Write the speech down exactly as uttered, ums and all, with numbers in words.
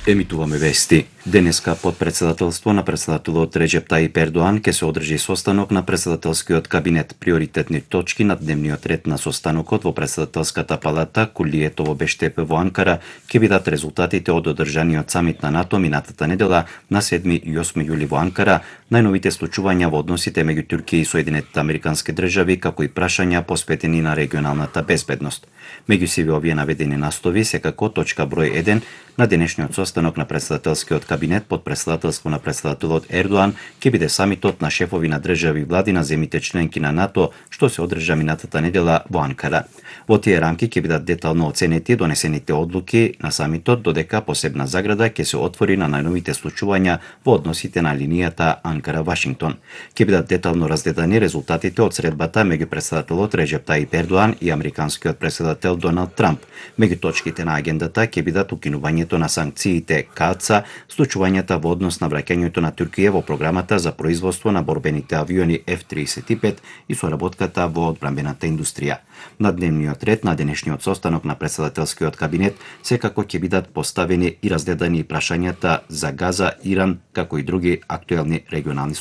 Емитуваме вести. Денеска под председателство на председателот Реџеп Тајип Ердоан ќе се одржи состанок на председателскиот кабинет. Приоритетни точки на дневниот ред на состанокот во председателската палата Кулието во Бештепе во Анкара ќе бидат резултатите од одржаниот самит на НАТО минатата недела на седми и осми јули во Анкара, најновите случувања во односите меѓу Турција и Соединетите Американски држави, како и прашања посветени на регионалната безбедност. Меѓу сиве овие наведени настови секако точка број еден на денешниот состанок на председателскиот кабинет под председателство на председателот Ердоан ќе биде самитот на шефови на држави и влади на земјите членки на НАТО, што се одржа минатата недела во Анкара. Во тие рамки ќе бидат детално оценети донесените одлуки на самитот, додека посебна заграда ќе се отвори на најновите случувања во односите на линијата Анкара-Вашингтон. Ќе бидат детално разгледани резултатите од средбата меѓу председателот Реџеп Тајип Ердоан и американскиот председател Доналд Трамп. Меѓу точките на агендата ќе бидат укинувањето на санкциите КАЦА, случувањата во однос на враќањето на Турција во програмата за производство на борбените авиони Еф триесет и пет и соработката во одбранбената индустрија. На дневниот ред на денешниот состанок на председателскиот кабинет секако ќе бидат поставени и разгледани прашањата за Газа, Иран, како и други актуелни регионални